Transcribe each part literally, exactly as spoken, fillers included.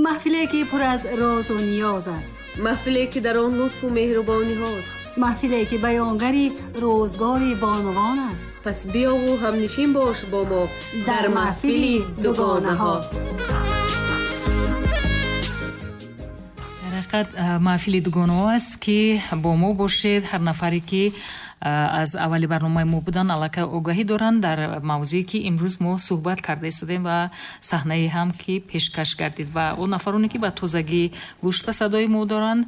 Маҳфиле ки пур аз розу ниёз аст. Маҳфиле ки дар он лутфу меҳрубониҳост. Маҳфиле ки баёнгари рӯзгори бонувон аст. Пас биёву ҳамнишин бош бо мо дар маҳфили дугонаҳо. Дар ҳақиқат маҳфили дугонаҳо аст ки бо мо бошед. Ҳар нафаре ки аз аввали барномаи мо буданд, аллакай огаҳӣ доранд дар мавзӯе ки имрӯз мо суҳбат карда истодем ва саҳнае ҳам ки пешкаш гардид. Ва он нафароне ки ба тозагӣ гӯш ба садои мо доранд,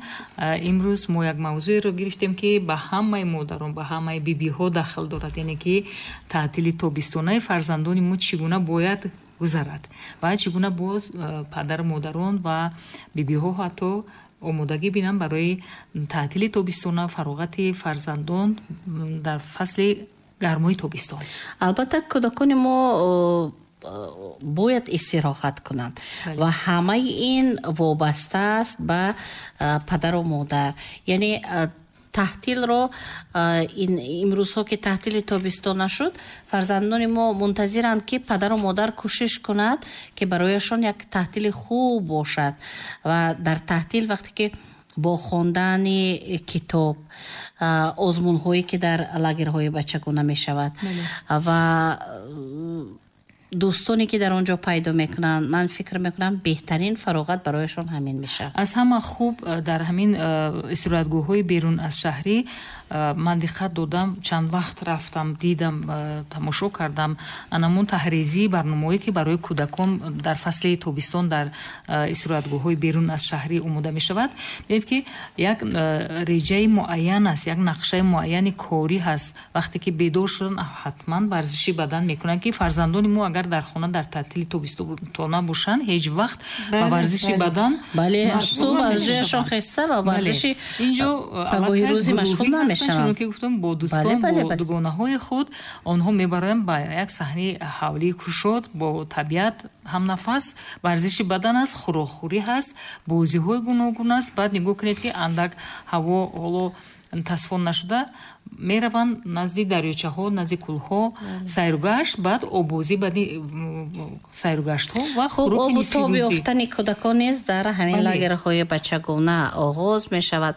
имрӯз мо як мавзӯеро гирифтем ки ба ҳамаи модарон, ба ҳамаи бибиҳо дахл дорад, яъне ки таътили тобистонаи фарзандони мо чӣ гуна бояд гузарад ва чӣ гуна боз падару модарон ва бибиҳо ҳатто омодагӣ бинанд барои таътили тобистона, фароғати фарзандон дар фасли гармои тобистон. Албатта, кӯдакони мо бояд истироҳат кунанд ва ҳамаи ин вобаста аст ба падару модар. Яъне таҳтилро имрӯзҳо ки таҳтили тобистона шуд, фарзандони мо мунтазиранд ки падару модар кӯшиш кунад ки барояшон як таҳтили хуб бошад. Ва дар таҳтил вақте ки бо хондани китоб, озмунҳое ки дар лагерҳои бачагона мешавад ва дӯстоне ки дар он ҷо пайдо мекунанд, ман фикр мекунам беҳтарин фароғат барояшон ҳамин мешавад. Аз ҳама хуб дар ҳамин истироҳатгоҳҳои берун аз шаҳрӣ ман диққат додам, чанд вақт рафтам, дидам, тамошо кардам анамун таҳризии барномаҳое ки барои кӯдакон дар фасли тобистон дар истироҳатгоҳҳои берун аз шаҳрӣ омода мешавад. Бинед ки як реҷаи муайян аст, як нақшаи муайяни корӣ ҳаст. Вақте ки бедор шуданд, ҳатман варзиши бадан мекунанд ки фарзандони мо агар дар хона дар таътили тобистона бошанд, ҳеҷ вақт ба варзиши бадан бале, субҳ аз ҷояшон хеста ва варзиши инҷо пагоҳи рӯзӣ машғул намешаванд. Чунон ки гуфтам, бо дӯстон, бо дугонаҳои худ онҳо мебаранд ба як саҳнаи ҳавлии кушод, бо табиат ҳамнафас, варзиши бадан аст, хӯрокхӯрӣ ҳаст, бозиҳои гуногун аст. Баъд нигоҳ кунед ки андак ҳаво ҳоло тасфон нашуда, мераванд назди дарёчаҳо, назди кӯлҳо сайругашт, баъд обозӣ, баъди сайругаштҳо ва хӯроки нисфирӯзӣ. Обу тоб ёфтани кӯдакон низ дар ҳамин лагерҳои бачагона оғоз мешавад.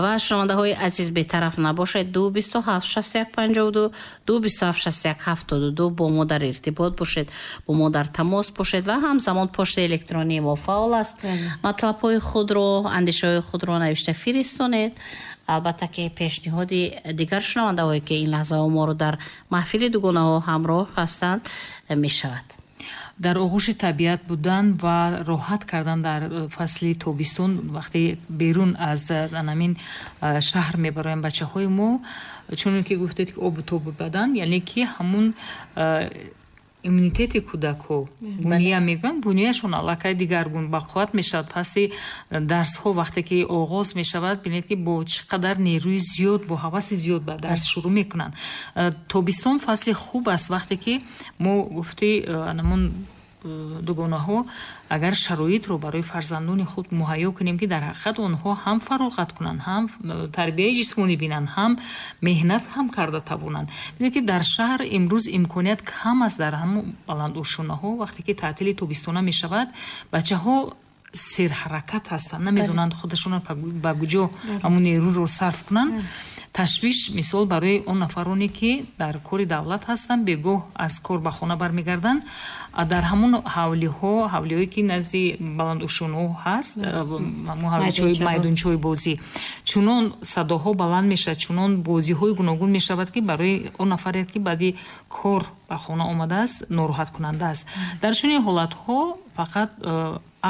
Ва шунавандаҳои азиз, бетараф набошед. Ду бисту ҳафт шасту як панҷоҳу ду, ду бисту ҳафт шасту як ҳафтоду ду бо мо дар иртибот бошед, бо мо дар тамос бошед ва ҳамзамон поштаи электронии мо фаъол аст. Матлабҳои худро, андешаҳои худро навишта фиристонед. Албатта ки пешниҳоди дигар шунавандаҳое ки ин лаҳзаҳо моро дар маҳфили дугонаҳо ҳамроҳ ҳастанд мешавад. Дар оғӯши табиат будан ва роҳат кардан дар фасли тобистон, вақте берун аз анамин шаҳр мебароем бачаҳои мо, чунон ки гуфтед ки обу тобу бадан, яъне ки ҳамун иммунитети кӯдакҳо буния мегӯянд, бунияшон аллакай дигаргун бақувват мешавад. Паси дарсҳо вақте ки оғоз мешавад, бинед ки бо чӣ қадар нерӯи зиёд, бо ҳаваси зиёд ба дарс шурӯъ мекунанд. Тобистон фасли хуб аст, вақте ки мо гуфти анамун дугонаҳо агар шароитро барои фарзандони худ муҳайё кунем ки дар ҳақиқат онҳо ҳам фароғат кунанд, ҳам тарбияи ҷисмонӣ бинанд, ҳам меҳнат ҳам карда тавонанд. Бинед ки дар шаҳр имрӯз имконият кам аст дар ҳамон баландошонаҳо. Вақте ки таътили тобистона мешавад, бачаҳо серҳаракат ҳастанд, намедонанд худашонро ба куҷо ҳамон нерӯро сарф кунанд. Ташвиш мисол барои он нафароне ки дар кори давлат ҳастанд, бегоҳ аз кор ба хона бармегарданд, дар ҳамон ҳавлиҳо, ҳавлиҳое ки назди баландошонаҳо ҳаст, ҳамон ҳавличаҳои майдончаҳои бозӣ, чунон садоҳо баланд мешавад, чунон бозиҳои гуногун мешавад ки барои он нафаре ки баъди кор ба хона омадааст, нороҳаткунанда аст. Дар чунин ҳолатҳо фақат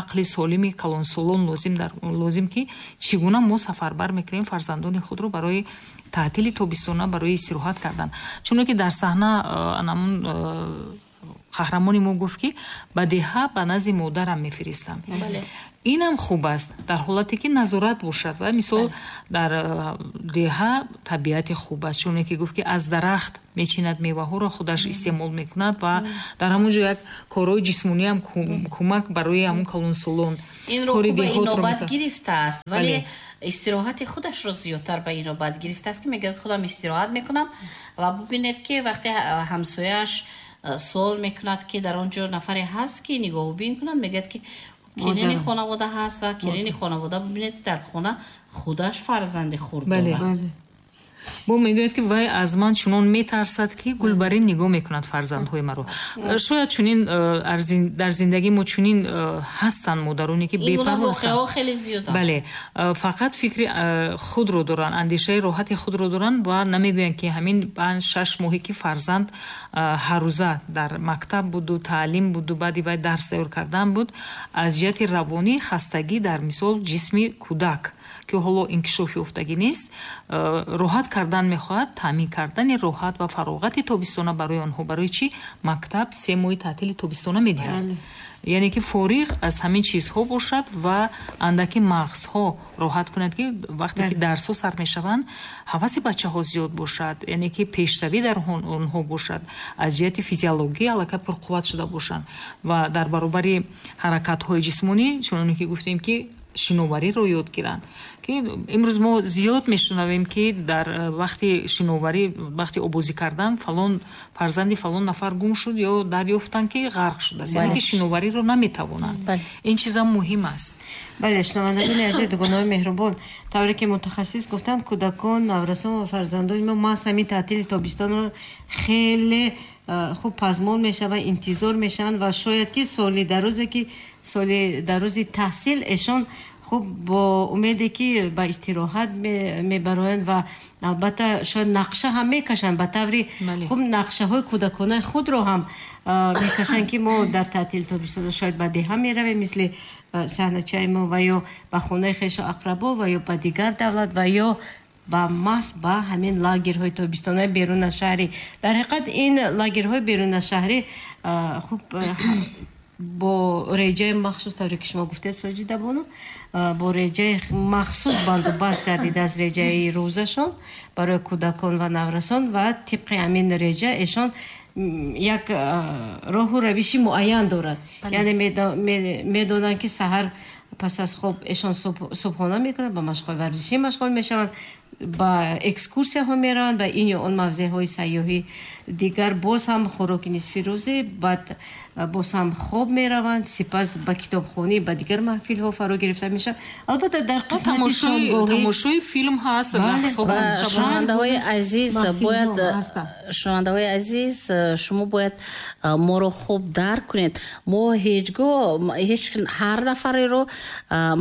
ақли солими калонсолон лозим, дар лозим ки чӣ гуна мо сафарбар мекунем фарзандони худро барои таътили тобистона, барои истироҳат кардан. Чуно ки дар саҳна анамун қаҳрамони мо гуфт ки ба деҳа ба назди модарам мефиристам. Инам хуб аст дар ҳолате ки назорат бошад ва мисол дар деҳа табиати хуб аст, чуне ки гуфт ки аз дарахт мечинад меваҳоро, худаш истеъмол мекунад ва дар ҳамон ҷо як корҳои ҷисмонӣ ҳам кӯмак барои ҳамон калонсолон инро ба инобат гирифтааст, вале истироҳати худашро зиёдтар ба инобат гирифтааст ки мегӯяд худам истироҳат мекунам. Ва бубинед ки вақте ҳамсояаш суол мекунад ки дар он ҷо нафаре ҳаст ки нигоҳубин кунад, мегӯяд ки Келини хонавода ҳаст ва келини хонавода бибинед, дар хона худаш фарзанди хурд дорад. Бо мегӯяд, ки вай аз ман чунон метарсад, ки гулбарин нигоҳ мекунад фарзандҳои маро. Шояд чунин дар зиндагии мо чунин ҳастанд модароне, ки бепарво ҳастанд. Хеле зиёданд. Бале, фақат фикри худро доранд, андешаи роҳати худро доранд ва намегӯянд, ки ҳамин панҷ шаш моҳе, ки фарзанд ҳаррӯза дар мактаб буду, таълим буду, баъди вай дарс тайёр кардан буд, аз ҷиҳати равонӣ хастагӣ дар мисол ҷисми кӯдак, ки ҳоло инкишоф ёфтагӣ нест, роҳат кардан мехоҳад, таъмин кардани роҳат ва фароғати тобистона барои онҳо. Барои чӣ мактаб се моҳи таътили тобистона медиҳад? Яъне ки фориғ аз ҳамин чизҳо бошад ва андаки мағзҳо роҳат кунад, ки вақте ки дарсҳо сар мешаванд, ҳаваси бачаҳо зиёд бошад, яъне ки пешравӣ дар онҳо бошад, аз ҷиҳати физиологӣ аллакай пурқувват шуда бошанд ва дар баробари ҳаракатҳои ҷисмонӣ, чуноне ки гуфтем, ки шиновариро ёд гиранд. Ки имрӯз мо зиёд мешунавем, ки дар вақти шиноварӣ, вақти обозӣ кардан фалон фарзанди фалон нафар гум шуд ё дарёфтанд, ки ғарқ шудааст, яъне ки шиновариро наметавонанд. Ин чизам муҳим аст. Бале, шунавандагони азиз, дугонаҳои меҳрубон, тавре ки мутахассис гуфтанд, кӯдакон, наврасон ва фарзандони мо маҳз ҳамин таътили тобистонро хеле хуб пазмон мешаванд, интизор мешаванд ва шояд ки соли дар рӯзе ки соли дар рӯзи таҳсил эшон хуб бо умеде ки ба истироҳат мебароянд ва албатта шояд нақша ҳам мекашанд, ба таври хуб нақшаҳои кӯдаконаи худро ҳам мекашанд, ки мо дар таътили тобистона шояд ба деҳа меравем, мисли саҳначаи мо, ва ё ба хонаи хешу ақрабо, ва ё ба дигар давлат, ва ё ба маҳз ба ҳамин лагерҳои тобистонаи берун аз шаҳрӣ. Дар ҳақиқат ин лагерҳои берун аз шаҳрӣ хуб бо реҷаи махсус, тавре ки шумо гуфтед, Соҷида бону, бо реҷаи махсус бандубаст гардида аз реҷаи рӯзашон барои кӯдакон ва наврасон ва тибқи ҳамин реҷа эшон як роҳу равиши муайян дорад. Яъне медонанд, ки саҳар пас аз хоб эшон субҳона мекунанд, ба машқҳои варзишӣ машғул мешаванд, ба экскурсияҳо мераванд, ба ин ё он мавзеъҳои сайёҳӣ, дигар боз ҳам хӯроки нисфирӯзӣ, баъд боз ҳам хоб мераванд, сипас ба китобхонӣ, ба дигар маҳфилҳо фаро гирифта мешаванд. Албатта дар қисмати шомгоҳӣ тамошои филм ҳаст. Шунавандаҳои азиз, бояд шунавандаҳои азиз, шумо бояд моро хуб дарк кунед. Мо ҳеҷ гоҳ ҳеҷ ҳар нафареро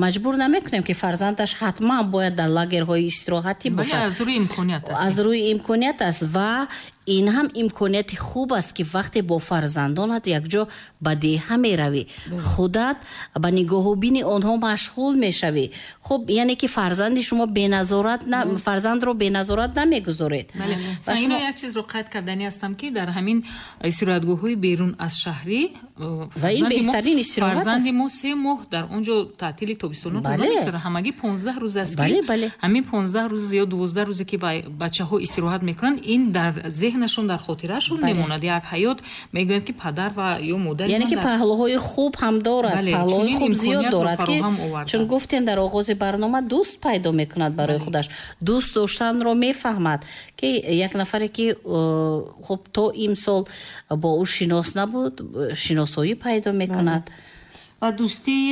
маҷбур намекунем, ки фарзандаш ҳатман бояд дар лагерҳои истироҳатӣ бошад. Аз рӯи имконият аст. Аз рӯи имконият аст ва ин ҳам имконияти хуб аст, ки вақте бо фарзандонат якҷо ба деҳа меравӣ, худат ба нигоҳубини онҳо машғул мешавӣ. Хуб, яъне ки фарзанди шумо беназорат фарзандро беназорат намегузоред. Сангино, як чизро қайд кардани ҳастам, ки дар ҳамин истироҳатгоҳҳои берун аз шаҳрӣ ва ин беҳтарин истироҳат аст. Фарзанди мо се моҳ дар он ҷо таътили тобистона мегузарад, ҳамагӣ понздаҳ рӯз аст, ки ҳамин понздаҳ рӯз ё дувоздаҳ рӯзе ки бачаҳо истироҳат мекунанд, ин дар зеҳнашон, дар хотирашон мемонад. Як ҳаёт мегӯянд, ки падар ва ё модар, яъне ки паҳлӯҳои хуб ҳам дорад, паҳлӯҳои хуб зиёд дорад, ки чун гуфтем дар оғози барнома, дӯст пайдо мекунад барои худаш, дӯст доштанро мефаҳмад, ки як нафаре ки хуб то имсол бо ӯ шинос набуд, шиносоӣ пайдо мекунад. Ва дӯстии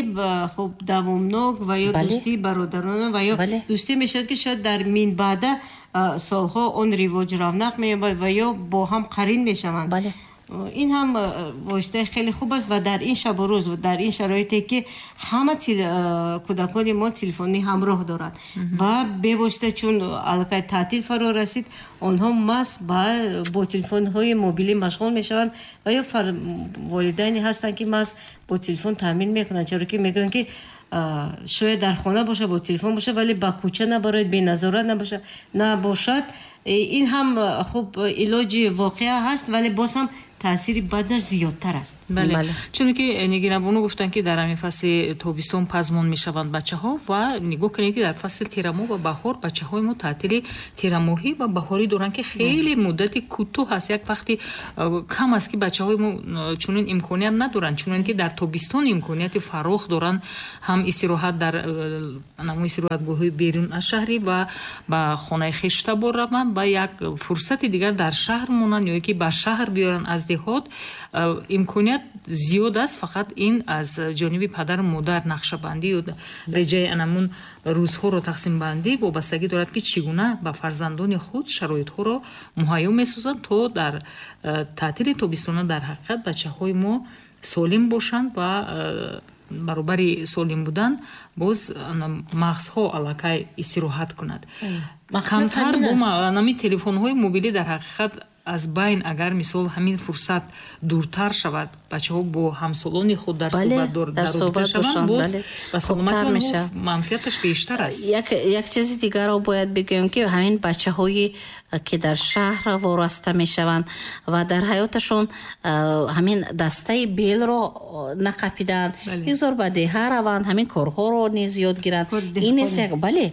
хуб давомнок ва ё дӯстии бародарона ва ё дӯстӣ мешавад, ки шояд дар минбаъда солҳо он ривоҷ равнақ меёбад ва ё бо ҳам қарин мешаванд. Ин ҳам воситаи хеле хуб аст ва дар ин шабу рӯз, дар ин шароите ки ҳама кӯдакони мо телефони ҳамроҳ доранд ва бевосита чун аллакай таътил фаро расид, онҳо маҳз бо телефонҳои мобилӣ машғул мешаванд ва ё волидайне ҳастанд, ки маҳз бо телефон таъмин мекунанд, чаро ки мегӯянд, ки шояд дар хона бошад, бо телефон бошад, вале ба кӯча набарояд, беназорат набошад набошад. Ин ҳам хуб илоҷи воқеа ҳаст, вале боз ҳам таъсири бадаш зиёдтар аст. Бале, чунки Нигинабону гуфтанд, ки дар ҳамин фасли тобистон пазмон мешаванд бачаҳо ва нигоҳ кунед, ки дар фасли тирамоҳ ва баҳор бачаҳои мо таътили тирамоҳӣ ва баҳорӣ доранд, ки хеле муддати кӯтоҳ аст, як вақти кам аст, ки бачаҳои мо чунин имконият надоранд, чунон ки дар тобистон имконияти фарох доранд, ҳам истироҳат дар намои истироҳатгоҳҳои берун аз шаҳрӣ ва ба хонаи хештабор раванд ва як фурсати дигар дар шаҳр монанд ё ки ба шаҳр биёранд аз деҳот имконият зиёд аст, фақат ин аз ҷониби падару модар нақшабандӣ ё реҷаи анамун рӯзҳоро тақсимбандӣ вобастагӣ дорад, ки чӣ гуна ба фарзандони худ шароитҳоро муҳайё месозанд, то дар таътили тобистона дар ҳақиқат бачаҳои мо солим бошанд ва баробари солим будан боз мағзҳо аллакай истироҳат кунад. Камтар бо нами телефонҳои мобилӣ дар ҳақиқат аз байн агар мисол ҳамин фурсат дуртар шавад, бачаҳо бо ҳамсолони худ дар суҳбат дар робита шаванд, боз ба саломати онҳо манфиаташ бештар аст. Як чизи дигарро бояд бигӯем, ки ҳамин бачаҳое ки дар шаҳр вораста мешаванд ва дар ҳаёташон ҳамин дастаи белро нақапиданд, бигзор ба деҳа раванд, ҳамин корҳоро низ ёд гиранд. Ин низ як бале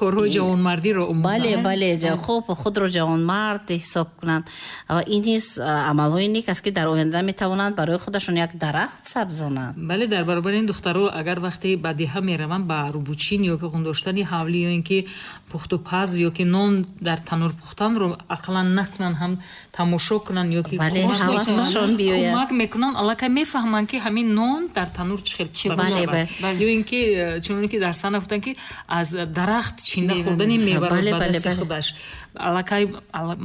корҳои ҷавонмардиро омӯзанд. Бале, бале, хуб худро ҷавонмард ҳисоб кунанд. Ва ин низ амалҳои нек аст, ки дар оянда метавонанд барои худашон як дарахт сабзонанд. Бале, дар баробари ин духтаро агар вақте ба деҳа мераванд, ба рӯбучин ё ки ғундоштани ҳавлӣ ё ин ки пухту паз ё ки нон дар танур пухтанро ақаллан накунанд, ҳам тамошо кунанд ё ки кӯмак мекунанд, аллакай мефаҳманд, ки ҳамин нон дар танур чӣ хел пухта мешавад. Ё ин ки чуноне ки дар саҳна гуфтанд, ки аз дарахт чинда хӯрдани меваро ба дасти худаш аллакай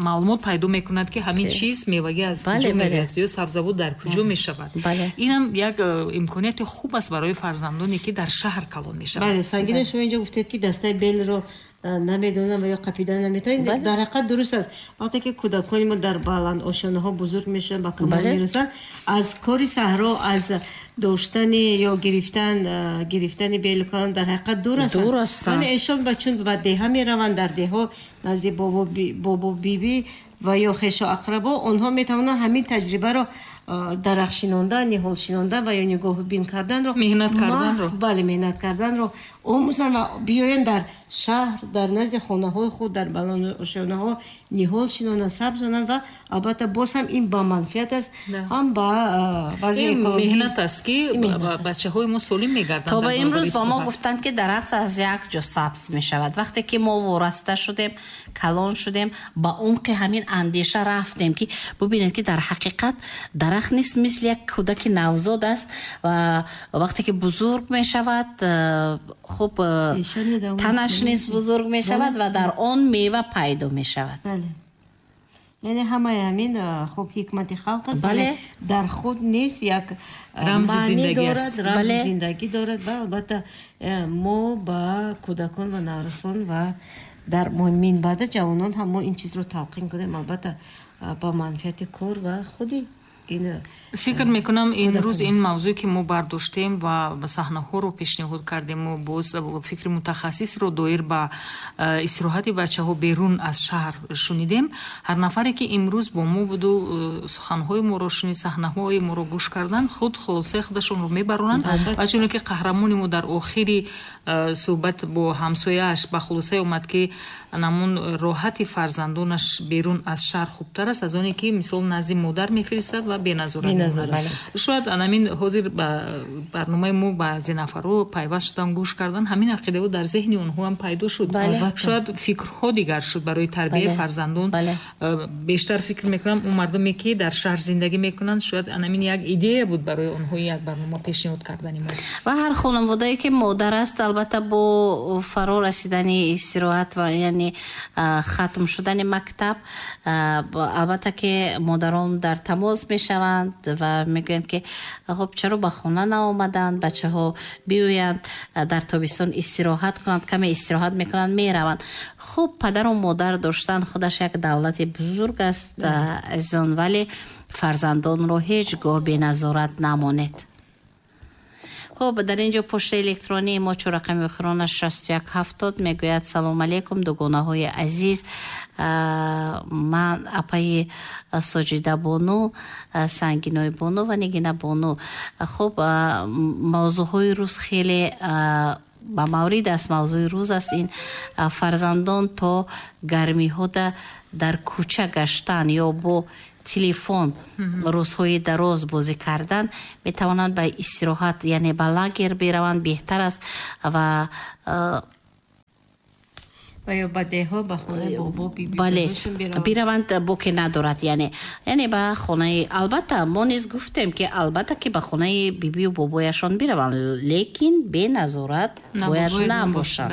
маълумот пайдо мекунад, ки ҳамин чиз мевагӣ аз куҷо меояд ё сабзавот дар куҷо мешавад. Инам як имконияти хуб аст барои фарзандоне, ки дар шаҳр калон мешаванд. Бале, Сангина, шумо инҷо гуфтед, ки дастаи белро намедонам ва ё қапидан наметавонанд. Дар ҳақиқат дуруст аст. Вақте ки кӯдакони мо дар баланд ошёнаҳо бузург мешаванд, ба камол мерасанд, аз кори саҳро, аз доштани ё гирифтан гирифтани белукалон дар ҳақиқат дур ҳастанд. Вале эшон ба чун ба деҳа мераванд, дар деҳо назди бобо бибӣ ва ё хешу ақрабо, онҳо метавонанд ҳамин таҷрибаро дарахт шинондан, ниҳол шинондан ва ё нигоҳубин карданро, меҳнат карданро, бале, меҳнат карданро омӯзанд ва биёянд дар шаҳр, дар назди хонаҳои худ, дар баландошёнаҳо ниҳол шинонанд, сабзонанд ва албатта боз ҳам ин ба манфиат аст, ҳам ба вазъи экологӣ. Меҳнат аст, ки бачаҳои мо солим мегарданд. То ба имрӯз ба мо гуфтанд, ки дарахт аз як ҷо сабз мешавад. Вақте ки мо вораста шудем, калон шудем, ба умқи ҳамин андеша рафтем, ки бубинед, ки дар ҳақиқат дарахт низ мисли як кӯдаки навзод аст ва вақте ки бузург мешавад, хуб танаш низ бузург мешавад ва дар он мева пайдо мешавад. Яъне ҳамаи ҳамин хуб ҳикмати халқ аст, вале дар худ низ як рамзи маънӣ дорад, рамзи зиндагӣ дорад ва албатта мо ба кӯдакон ва наврасон ва дар минбаъда ҷавонон ҳам мо ин чизро талқин кунем, албатта ба манфиати кор ва худи. Фикр мекунам имрӯз ин мавзӯе, ки мо бардоштем ва саҳнаҳоро пешниҳод кардем ва боз фикри мутахассисро доир ба истироҳати бачаҳо берун аз шаҳр шунидем, ҳар нафаре, ки имрӯз бо мо буду суханҳои моро шунид, саҳнаҳои моро гӯш кардан, худ хулосаи худашонро мебаронанд ва чуне ки қаҳрамони мо дар охири суҳбат бо ҳамсояаш ба хулосае омад, ки намун роҳати фарзандонаш берун аз шаҳр хубтар аст аз оне, ки мисол назди модар мефиристад ва беназорат мемонад. Шояд анамин ҳозир ба барномаи мо баъзе нафарҳо пайваст шудан, гӯш кардан, ҳамин ақидаҳо дар зеҳни онҳо ҳам пайдо шуд. Шояд фикрҳо дигар шуд барои тарбияи фарзандон. Бештар фикр мекунам он мардуме, ки дар шаҳр зиндагӣ мекунанд, шояд анамин як идея буд барои онҳо як барнома пешниҳод кардани мо. Ва ҳар хонаводае, ки модар аст, албатта бо фаро расидани истироҳат ва яъне хатм шудани мактаб, албатта ки модарон дар тамос мешаванд ва мегӯянд, ки хуб чаро ба хона наомаданд, бачаҳо биёянд дар тобистон истироҳат кунанд, каме истироҳат мекунанд, мераванд. Хуб падару модар доштан худаш як давлати бузург аст, азизон, вале фарзандонро ҳеҷ гоҳ беназорат намонед. Хуб, дар ин ҷо почтаи электронии мо чор рақами охиронаш шасту як ҳафтод мегӯяд: салом алейкум, дугонаҳои азиз, ман апаи Соҷида бону, Сангинои бону ва Нигина бону. Хуб, мавзӯъҳои рӯз хеле ба маврид аст, мавзӯи рӯз аст ин фарзандон то гармиҳода дар кӯча гаштан ё бо телефон рӯзҳои дароз бозӣ кардан метавонанд ба истироҳат, яъне ба лагер бираванд, беҳтар аст. Ва Ва ё ба деҳо, ба хонаи бобо, биби, бале, бираванд, боке надорад. Яъне яъне ба хонаи, албатта мо низ гуфтем, ки албатта ки ба хонаи бибию бобояшон бираванд, лекин бе назорат бояд набошанд.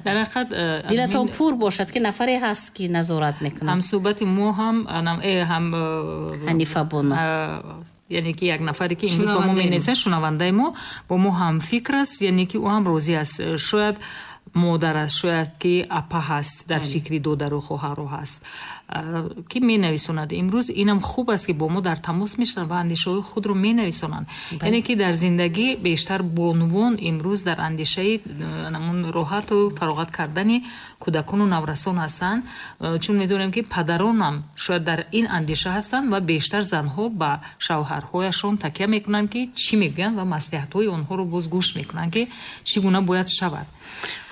Дар ҳақиқат дилатон пур бошад, ки нафаре ҳаст, ки назорат мекунад. Ҳамсӯҳбати мо ҳам ҳам Ҳанифа бону, яъне ки як нафаре, ки имрӯз ба мо менависад, шунавандаи мо, бо мо ҳамфикр аст, яъне ки ӯ ҳам розӣ аст. Шояд модар аст, шояд ки апа ҳаст, дар фикри додару хоҳару ҳаст, ки менависонад имрӯз. Инам хуб аст, ки бо мо дар тамос мешаванд ва андешаҳои худро менависонанд. Яъне ки дар зиндагӣ бештар бонувон имрӯз дар андешаи ҳамун роҳату фароғат кардани кӯдакону наврасон ҳастанд, чун медонем, ки падаронам шояд дар ин андеша ҳастанд ва бештар занҳо ба шавҳарҳояшон такя мекунанд, ки чӣ мегӯянд, ва маслиҳатҳои онҳоро боз гӯш мекунанд, ки чӣ гуна бояд шавад.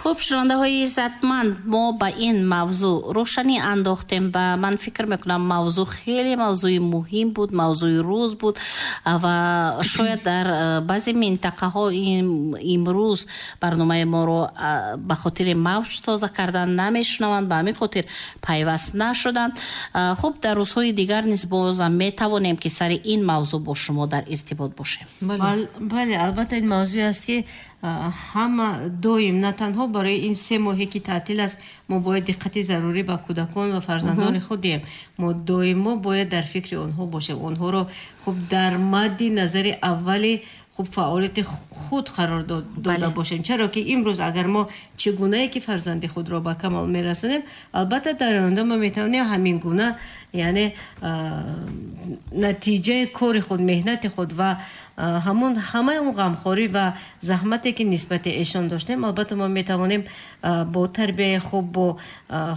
Хуб, шунавандаҳои иззатманд, мо ба ин мавзӯъ рӯшанӣ андохтем ва ман фикр мекунам, мавзӯъ хеле мавзӯи муҳим буд, мавзӯи рӯз буд ва шояд дар баъзе минтақаҳо имрӯз барномаи моро ба хотири мавҷ тоза кардан намешунаванд, ба ҳамин хотир пайваст нашуданд. Хуб, дар рӯзҳои дигар низ бозам метавонем, ки сари ин мавзӯъ бо шумо дар иртибот бошем. Бале, албатта ин мавзӯе аст, ки ҳама доим, на танҳо барои ин се моҳе, ки таътил аст, мо бояд диққати зарурӣ ба кӯдакон ва фарзандони худ диҳем. Мо доимо бояд дар фикри онҳо бошем, онҳоро хуб дар мадди назари аввали хуб фаъолияти худ қарор дода бошем, чаро ки имрӯз агар мо чӣ гунае ки фарзанди худро ба камол мерасонем, албатта дар оянда мо метавонем ҳамин гуна, яъне натиҷаи кори худ, меҳнати худ ва ҳамон ҳамаи он ғамхорӣ ва заҳмате, ки нисбати эшон доштем, албатта мо метавонем бо тарбияи хуб, бо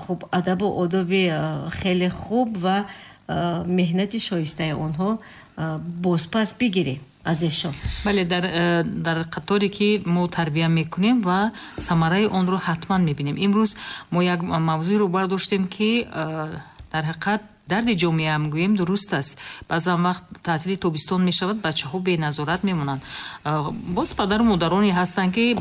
хуб адабу одоби хеле хуб ва меҳнати шоистаи онҳо бозпас бигирем аз эшон. Бале, дар дар қаторе ки мо тарбия мекунем ва самараи онро ҳатман мебинем. Имрӯз мо як мавзӯеро бардоштем, ки дар ҳақиқат дарди ҷомеаам гӯем дуруст аст. Баъзан вақт таътили тобистон мешавад, бачаҳо беназорат мемонанд. Боз падару модароне ҳастанд, ки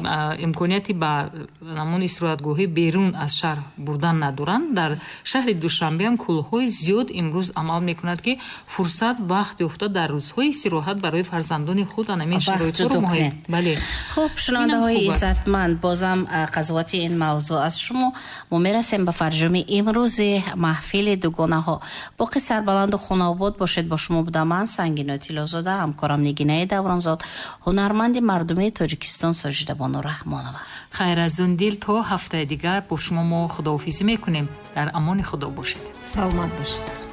имконияти ба ҳамон истироҳатгоҳӣ берун аз шаҳр бурдан надоранд. Дар шаҳри Душанбеам кӯлҳои зиёд имрӯз амал мекунад, ки фурсат вақт ёфта дар рӯзҳои истироҳат барои фарзандони худ анамин шароитҳоро муҳайё. Бале. Хуб, шунавандаҳои иззатманд, бозам қазовати ин мавзӯъ аз шумо. Мо мерасем ба фарҷоми имрӯзи маҳфили дугонаҳо. Боқӣ сарбаланду хонаобод бошед. Бо шумо будам ман, Сангино Тиллозода, ҳамкорам Нигинаи Давронзод, ҳунарманди мардумии Тоҷикистон Соҷидабону Раҳмонова. Хайр аз он дил, то ҳафтаи дигар бо шумо мо худоҳофизӣ мекунем. Дар амони Худо бошед. Саломат бошед.